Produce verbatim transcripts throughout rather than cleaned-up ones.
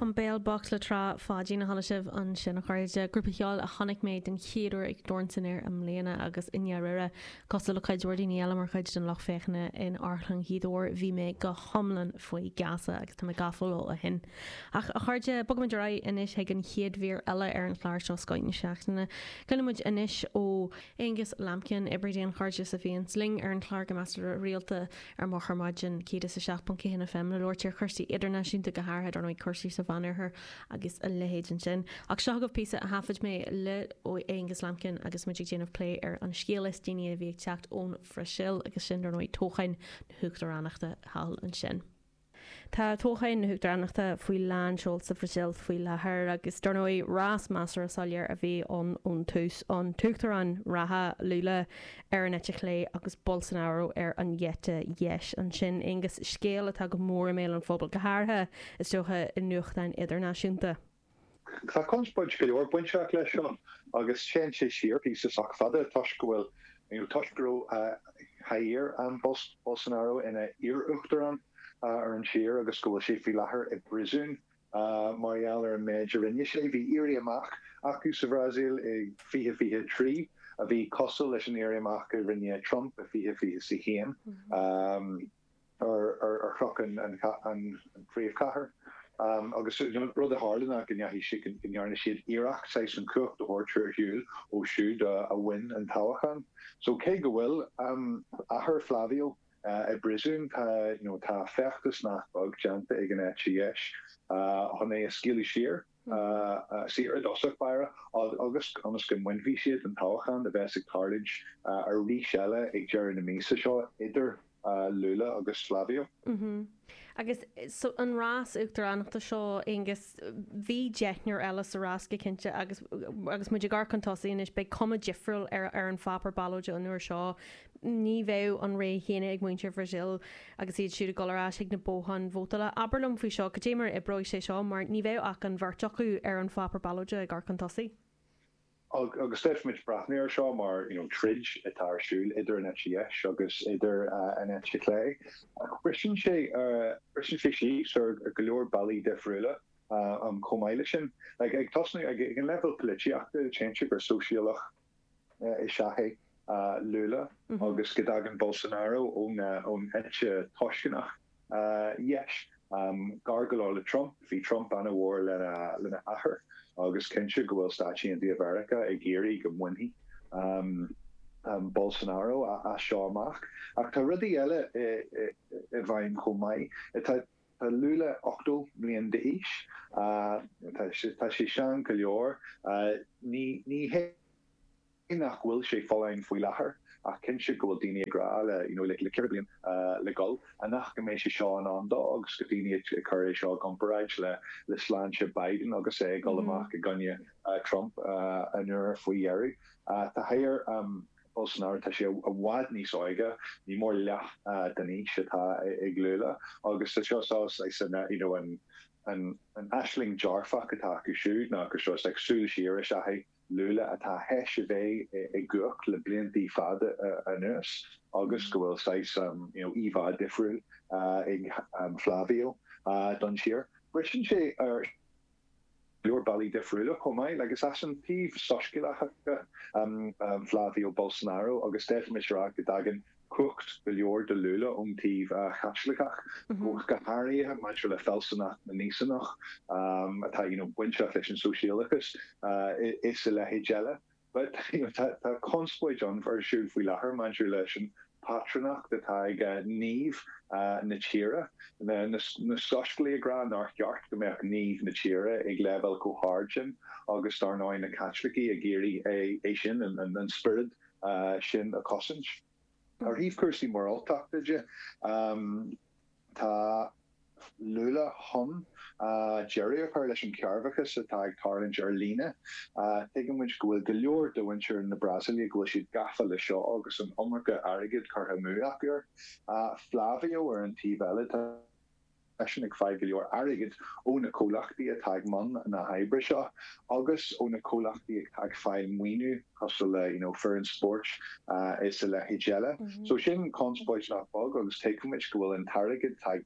An Béal Bocht le Trá Pháidín a chuala sibh ansin, a chairde. Grúpa ceoil a chonaic mé den chéad uair ag Dorn san Aer i mbliana agus i ndáiríre, cosúil le cuid mhór daoine eile mar chuid den lucht féachana in Amharclann Ghaoth Dobhair, bhí mé go hiomlán faoi gheasa agus tá mé gafa leo ó shin. Ach a chairde, bogfaimid ar aghaidh anois chuig an chéad mhír eile ar an chlár seo, Scoth na Seachtaine. Cluinfidh muid anois ó Aonghus Lambkin, oibrí daonchairdis a bhíonns linn ar an chlár go measartha rialta ar Moch Ar Maidin, céad is a seacht ponc a haon F M le labhairt ar chúrsaí idirnáisiúnta, go háirithe dar ndóigh cúrsaí sa Mheánoirthear agus a leithéid ansin. Ach seo agaibh píosa a thaifead mé le Aonghus Lambkin agus muid ag déanamh plé ar an scéal is déanaí a bhí ag teacht ón Bhrasaíl agus sin dar ndóigh toghcháin na huachtaránachta thall ansin. Tá toghcháin na huachtaránachta faoi lán seol sa Bhrasaíl faoi láthair agus dar ndóigh rás measartha soiléir a bhí ann ón tús, an t-uachtarán reatha Lula ar an eite chlé agus Bolsonaro ar an eite dheis ansin. Aonghus, scéal atá go mór i mbéal an phobail, go háirithe is dócha i nuachtáin idirnáisiúnta. Tá conspóid go leor bainteach leis seo agus téann sé siar píosa sách fada toisc go bhfuil toisc go raibh Jair an Bolsonaro ina iar-uachtarán ar an tír agus go bhfuil sé faoi láthair i bpríosún mar gheall ar an méid a rinne sé. Bhí éirí amach acu sa Bhrasaíl i fiche fiche trí a bhí cosúil leis an éirí amach a rinne Trump i fiche fiche a haon ar ar chnoc an an phríomhchathair. Um, agus rud a tharla ná go ndeachaigh go ndearna siad iarracht saghas an chumhacht a thabhairt ar shiúl ó siúd a bhain an toghchán. So cé go bhfuil um, athair Flavio uh, i bpríosún, tá you know, tá feachtas nach beag déanta ag an eite dheis uh, chun é a scaoileadh siar uh, uh, saor i dtosach báire agus ionas go mbainfidh siad an toghchán a bheas ag tarlúint uh, arís eile ag deireadh na míosa seo idir uh, Lula agus Flavio. Mm -hmm. Agus so an rás uachtaránachta seo, Aonghus, bhí deichniúr eile sa rás go cinnte agus agus muid ag amharc chun tosaigh anois, beidh cuma difriúil ar ar an pháipéar ballóide an uair seo. Ní bheidh an rogha chéanna ag muintir Brazil agus iad siúd ag dul ar ais ag na botháin vótála. Abair liom faoi seo, cad é mar oibreoidh sé seo, mar ní bheidh ach an bheirt acu ar an pháipéar ballóide ag amharc chun tosaigh. Agus féadfaimid breathnú ar seo mar you know, troid atá ar siúl idir an eite dheis agus idir uh, an eite chlé. Briseann sé uh, briseann sé síos ar go leor bealaí difriúla uh, um, chomh maith leis sin. Like, ag tosnú ag, ag an level polaitíochta, téann gur sóisialach uh, is ea é uh, Lula mm -hmm. agus go dtagann Bolsonaro ón uh, ón eite tuisceanach uh, dheis. Um, gar go leor le Trump, bhí Trump an-mhór lena lena athair agus cinnte go bhfuil Stáit Aontaithe Mheiriceá ag iarraidh go mbainfidh um, um, Bolsonaro a, a seo amach. Ach tá rudaí eile i bhfeidhm chomh maith. Tá Tá Lula ochtó bliain d'aois, uh, tá sé sean go leor, uh, ní ní hé nach bhfuil sé folláin faoi láthair, ach cinnte go bhfuil daoine ag rá le you know, le le ceithre bliain uh, le gol a nach go mbeidh sé seo in ann dó agus go daoine ag cur é seo i gcomparáid le le sláinte Biden agus é ag dul mm -hmm. amach i gcoinne uh, Trump uh, an uair faoi dheireadh. Uh, tá Jair um, Bolsonaro, tá sé i bhfad níos óige, ní mór leath uh, den aois atá ag Lula agus tá seo seo you know, an an an aisling dearfach atá acu siúd ná gur seo like, súil siar is ea Lula atá théis a bheith i gcumhacht le blianta fada anuas agus go bhfuil saghas um, you know, íomhá difriúil uh, ag um, Flavio uh, don tír. Briseann sé ar leor bealaí difriúla chomh maith, agus as an taobh soiscéalach um, um, Flavio Bolsonaro agus d'fhéadfaimis rá go dtagann cumhacht go leor do Lula ón taobh uh, Chaitliceach mm -hmm. go háirithe maidir le fealsúnacht na nÍosánach um, atá you know, bainteach leis an sóisialachas uh, is a leithéid eile. But you know, tá, tá conspóid an ar siúl faoi láthair maidir leis an patrúnacht atá ag uh, naomh uh, na tíre, na, na, na soiscéalaithe ag rá nár cheart go mbeadh naomh na tíre ag leibhéal chomh hard sin agus dar ndóigh na Caitlicigh ag iarraidh é, é sin an, an, an spiorad uh, sin a chosaint. Ar thaobh cúrsaí moráltachta de, um, tá Lula chun uh, deireadh a chur leis an cearrbhachas atá ag tarlúint ar líne. Uh, Tuigimid go bhfuil go leor de mhuintir na Brasaíle go bhfuil siad gafa le seo agus an iomarca airgid curtha amú acu. Uh, Flavio ar an taobh eile, tá eisean ag fáil go leor airgid ó na comhlachtaí atá i mbun na hoibre seo agus ó na comhlachtaí atá ag fáil maoiniú cosúil le you know, foireann spóirt uh, is a leithéid eile. Mm -hmm. So sin conspóid nach beag agus tuigimid go bhfuil an t-airgead atá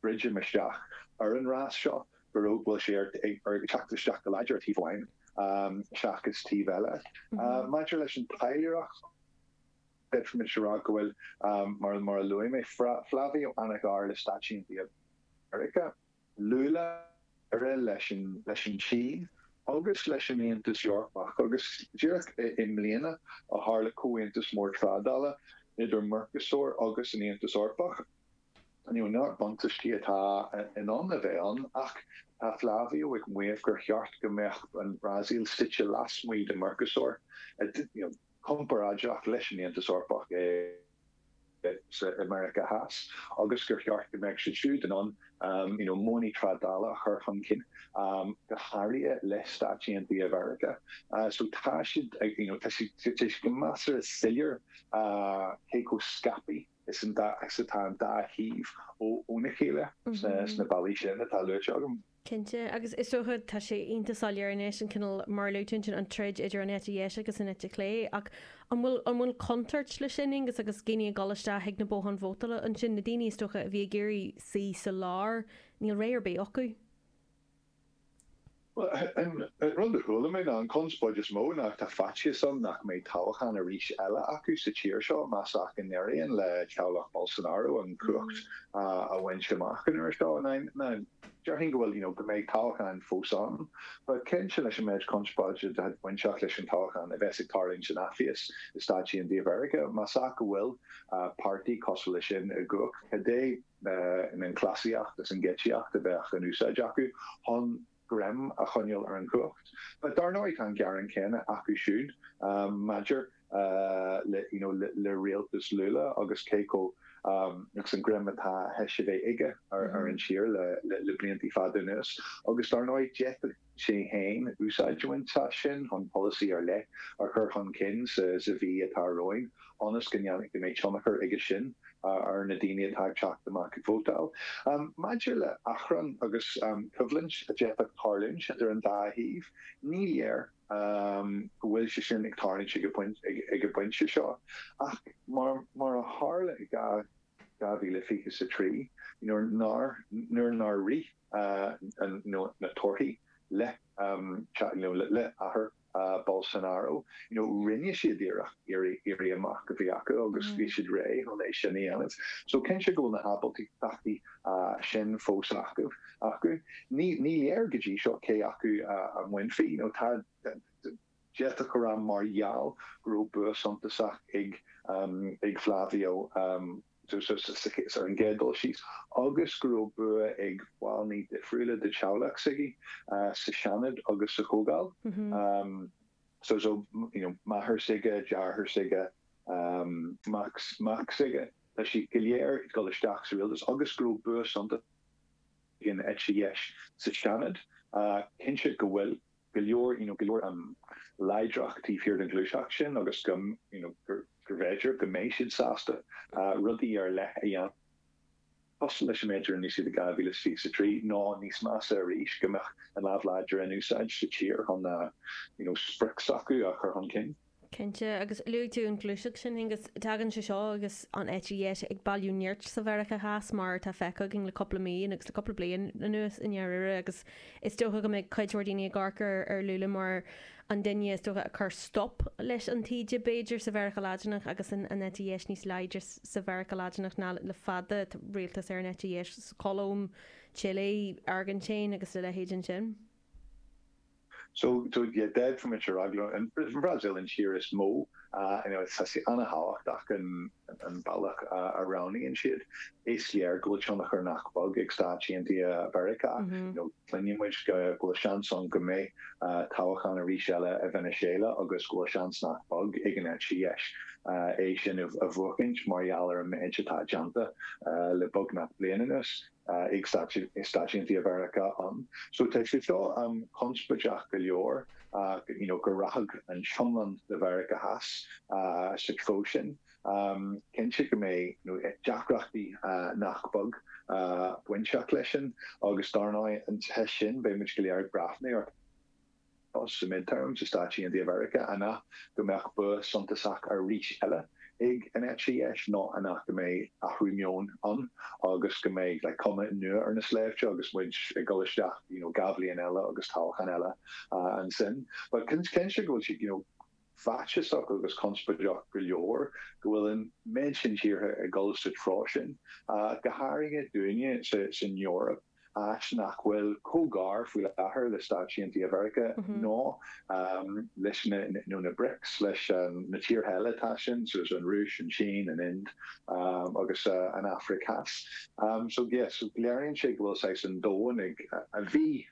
Druidim isteach ar an rás seo go raibh bhfuil sé ar ag teacht isteach go láidir taobh amháin um, seachas taobh eile. Mm -hmm. uh, maidir leis an taidhleoireacht d'fhéadfaimis a rá go bhfuil um, mar mar a luaigh mé Flávio an-ghar le Stáit Aontaithe Mheiriceá. Lula leis an leis an Tsín agus leis an Aontas Eorpach agus díreach i mbliana a tharla comhaontas mór trádála idir Mercosur agus an Aontas Eorpach. You know, nach buntáistí atá in ann a bheith ann ach tá Flávio ag maíomh gur cheart go mbeadh an Brasaíl suite lasmuigh de Mercosur you know, comparáideach leis an Aontas Eorpach é sa America Theas agus gur cheart go mbeadh siad siúd in ann um, you know, modhanna trádála a chur chun cinn um, go háirithe le Stáit Aontaithe Mheiriceá. Uh, so tá siad you know, tá siad go measartha soiléir uh, cé chomh scaipthe is an dá atá an dá thaobh óna chéile sna bealaí sin atá luaite agam. Cinnte agus is dócha tá sé iontach soiléir anois an cineál mar luaigh tú an troid idir an eite dheis agus an eite chlé ach an bhfuil an bhfuil contúirt leis sin agus agus daoine ag dul isteach ag na botháin vótála ansin na daoine is dócha a bhí ag iarraidh suí sa lár níl ré ar bith acu. An rud a chuala mé ná an conspóid is mó ná tá faitíos ann nach mbeidh toghchán arís eile acu sa tír seo más ea go n-éiríonn le teaghlach Bolsonaro an cumhacht a bhaint amach an uair seo. Déarfainn go bhfuil you know, go mbeidh toghchán fós ann, but cinnte leis an méid conspóide atá bainteach leis an toghchán a bheas ag tarlúint san athfhios i Stáit Aontaithe Mheiriceá, más ea go bhfuil páirtí cosúil leis sin i gcumhacht, cad é an cleasaíocht is an gheáitsíocht a bheadh in úsáid acu chun greim a choinneáil ar an chumhacht. But dar ndóigh tá an gearán céanna acu siúd um, maidir uh, le, you know, le, le rialtas Lula agus cé chomh um, agus an greim atá théis a bheith aige ar, ar an tír le, le, le blianta fada anuas. Agus dar ndóigh d'fhéadfadh sé féin úsáid a bhaint as sin chun polasaí ar leith a chur chun cinn sa, sa mhí atá romhainn ionas go ndéanfaidh go mbeidh tionchar aige sin ar na daoine atá ag teacht amach ag vótáil. Um, maidir le achrann agus um, coimhlint a d'fhéadfadh tarlúint idir an dá thaobh, ní léir um, go bhfuil sé sin ag tarlúint ag ag an bpointe seo. Ach mar, mar a tharla i dhá mhíle fiche a trí, nuair nár nuair nár rith uh, na torthaí le um, you know, le, le athair uh, Bolsonaro, you know, rinne siad iarracht éirí amach a bhí acu agus bhí siad réidh chun é sin a dhéanamh. So cinnte go bhfuil na hábaltachtaí uh, sin fós acu acu. Ní ní léir go dtí seo cé acu uh, a bhainfidh, you know, tá d'fhéadfadh go raibh mar gheall go raibh bua suntasach ag um, ag Flavio um, so, so, so, so, so an gcéad dul síos agus go raibh bua ag baill difriúla de theaghlach s'aige uh, sa Seanad agus sa Chomhdháil. Mm -hmm. um, so so you know máthair s'aige deartháir s'aige um, mac mac s'aige tá siad go léir ag dul isteach sa rialtas agus go raibh bua suntasach ag an eite dheis sa Seanad uh, cinnte go bhfuil go leor you know, go leor um, láidreacht taobh thiar den ghluaiseacht sin agus go you know, gur gur bhféidir go mbeidh siad sásta uh, rudaí ar leith a dhéanamh. Cosúil leis an méid a rinne siad i dhá mhíle fiche a trí nó níos measa arís go mbeadh an lámh láidir in úsáid sa tír chun uh, you know, sprioc s'acu a chur chun cinn. Cinnte agus luaigh tú an ghluaiseacht sin agus tagann sé seo agus an eite dheis ag bailiú nirt sa Mheiriceá Theas mar tá feicthe againn le cúpla mí agus le cúpla bliain anuas i ndáiríre agus is dócha go mbeidh cuid mhór daoine ag amharc ar ar Lula mar an duine is dócha a chur stop leis an taoide b'fhéidir sa Mheiriceá Laidineach agus an an eite dheis níos láidre sa Mheiriceá Laidineach ná le fada rialtas ar an eite dheis sa Cholóim, Chile, Airgintín agus a leithéid ansin. So so yeah, d'fhéadfaimis a rá an Brazil an tír is mó uh, you know, tá sé an-tábhachtach an an bealach uh, a roghnaíonn siad. Is léir go bhfuil tionchar nach beag ag Stáit Aontaithe Mheiriceá. Mm -hmm. You know, cluineann muid go go bhfuil seans ann go mbeidh uh, toghchán arís eile i Venezuela agus go bhfuil seans nach beag ag an eite dheis uh, é sin a bhuachaint mar gheall ar an méid atá déanta uh, le beagnach bliain anuas uh, ag Stáit Aontaithe Mheiriceá ann. So tá sé seo um, conspóideach go leor uh, you know, go rachadh an iomlán de Mheiriceá Theas uh, sa treo sin. Um, cinnte go mbeidh you know, deacrachtaí uh, nach beag uh, bainteach leis sin agus dar ndóigh an te sin beidh go léir ag breathnú ar sa midterm sa Stáit Aontaithe Mheiriceá an go mbeadh bua suntasach arís eile ag an eite dheis ná an go mbeidh athrú meoin ann agus go mbeidh like, cuma nua ar na sléibhte agus muid ag dul isteach you know, dhá bhliain eile agus toghchán eile uh, ansin. But cinnte go bhfuil siad you know, faitíosach agus conspóideach go leor go bhfuil an méid sin tíortha ag dul sa treo sin uh, go háirithe dúinne sa san Eoraip áit nach bhfuil chomh gar faoi láthair le Stáit Aontaithe Mheiriceá mm -hmm. ná um, leis na, nó na BRICS leis um, na tíortha eile tá sin so an Rúis an Sín an Ind um, agus uh, an Afraic Theas. Um, so yes, so léiríonn sé go bhfuil sé an domhan ag a bhí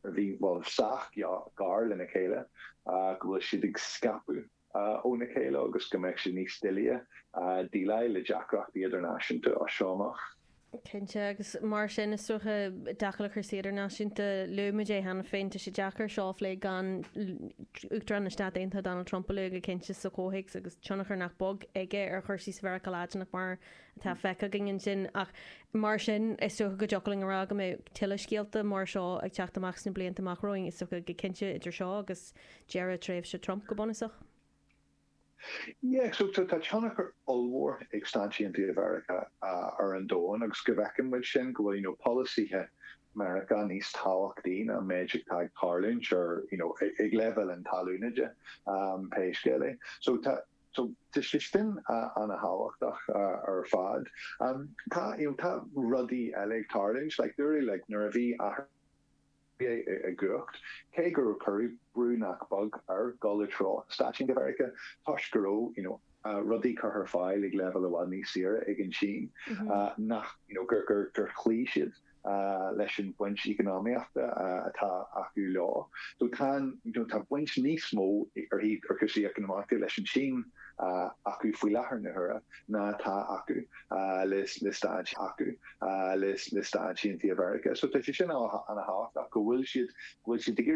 a bhí well sách gar lena chéile uh, go bhfuil siad ag scaipeadh uh, óna chéile agus go mbeidh sé níos doiligh uh, déileáil le deacrachtaí idirnáisiúnta as seo amach. Cinnte agus mar sin is dócha deacair le cúrsaí idirnáisiúnta luaigh é cheana féin tá sé deacair seo a phlé gan Uachtarán na Stát Aontaithe Donald Trump a lua go cinnte sa chomhthéacs agus tionchar nach beag aige ar chúrsaí sa Mheiriceá Laidineach mar atá feicthe againn sin ach mar sin is dócha go dtiocfadh linn a rá go mbeidh tuilleadh scéalta mar seo ag teacht amach sna blianta amach romhainn is dócha go cinnte idir seo agus deireadh tréimhse Trump go bunúsach. Yeah, so tá tionchar ollmhór ag Stáit Aontaithe Mheiriceá uh, ar an domhan agus go bhfeiceann muid sin go bhfuil you know, polasaithe Meiriceá níos tábhachtaí ná an méid atá ag tarlúint ar you know, ag leibhéal na talún de um, pé scéal é. So tá so tá sé sin uh, an-thábhachtach uh, ar fad. Um, tá you know, tá rudaí eile ag tarlúint like, like, nuair a bhí i gcumhacht cé gur cuireadh brú nach beag ar dul i dtreo Stáit Aontaithe Mheiriceá toisc go raibh you know, uh, rudaí curtha ar fáil ag leibhéal i bhfad níos saoire ag an Sín mm -hmm. uh, nach you know, gur gur gur chloígh siad uh, leis an baint eacnamaíochta uh, atá acu leo. So tá you know, tá baint níos mó ar ar cúrsaí eacnamaíochta leis an Sín uh, acu faoi láthair na huaire ná tá acu uh, le le Stáit acu uh, le le Stáit Aontaithe Mheiriceá. So tá sé sin an-thábhachtach go bhfuil siad bhfuil siad ag